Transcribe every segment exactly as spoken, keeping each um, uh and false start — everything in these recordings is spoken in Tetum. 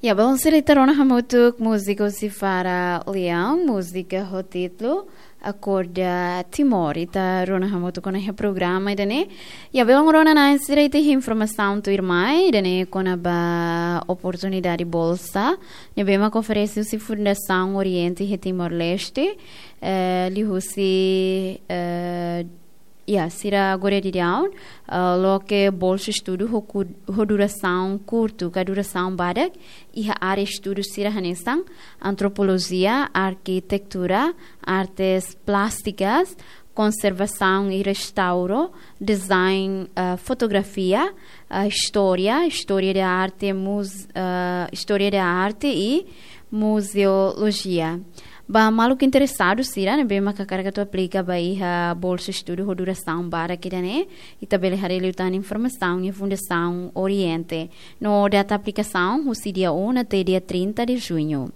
Ya, belun sira, ita rona hamutuk múzika husi Fara Leão, múzika ho títulu Akorda Timor. Ita rona hamutuk ona iha programa ida-ne'e. Ya, belun rona-na'in sira, ita iha informasaun tuirmai ida-ne'e kona-ba oportunidade bolsa ne'ebé mak oferese husi Fundasaun Oriente iha Timor-Leste, eh, liuhusi, eh, ya, sira agora daudaun, eh, loke bolsa estudu ho ku-, ho durasaun kurtu ka durasaun badak, iha área estudu sira hanesan antropolojia, arkitektura, artes plásticas, konservasaun i restauro, design, eh, fotografia, eh, istória, istória da arte, muz-, eh, istória da arte i muzeolojia. Ba maluk interesadu sira ne'ebé mak hakarak atu aplika ba iha bolsa estudu ho durasaun badak ida-ne'e, ita bele haree liután informasaun iha Fundasaun Oriente. No data aplikasaun husi dia um até dia trinta de junho.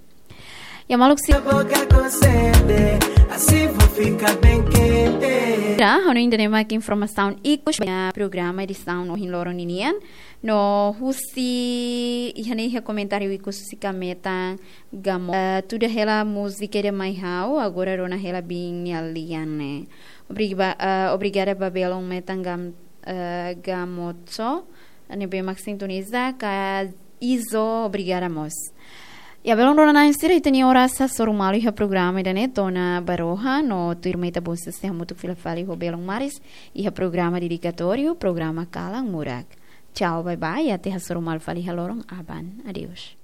Ya, maluk si- Boca com sede, assim vou ficar bem quente. Ya, ha'u hanoin ida-ne'e mak informasaun ikus ba programa edisaun ohin loron ninian. No husi iha ne'e iha komentáriu ikus husi Kametan Gamo. Eh, tuda hela múzika ida mai ha'u, agora rona hela biin nia lian ne'e. Obriga-, eh, obrigada ba belun metan Gam-, eh, Gamotso ne'ebé mak sintoniza, ka Izo, obrigada mós. Ya, belun rona-na'in sira, ita-nia oras hasoru malu iha programa ida-ne'e to'o ona ba rohan, no tuirmai ita bolu adeus hamutuk fila fali ho belun maris iha programa dedikatóriu, programa Kalan Murak. Tchau, bye bye, até hasoru malu fali iha loron aban. Adeus.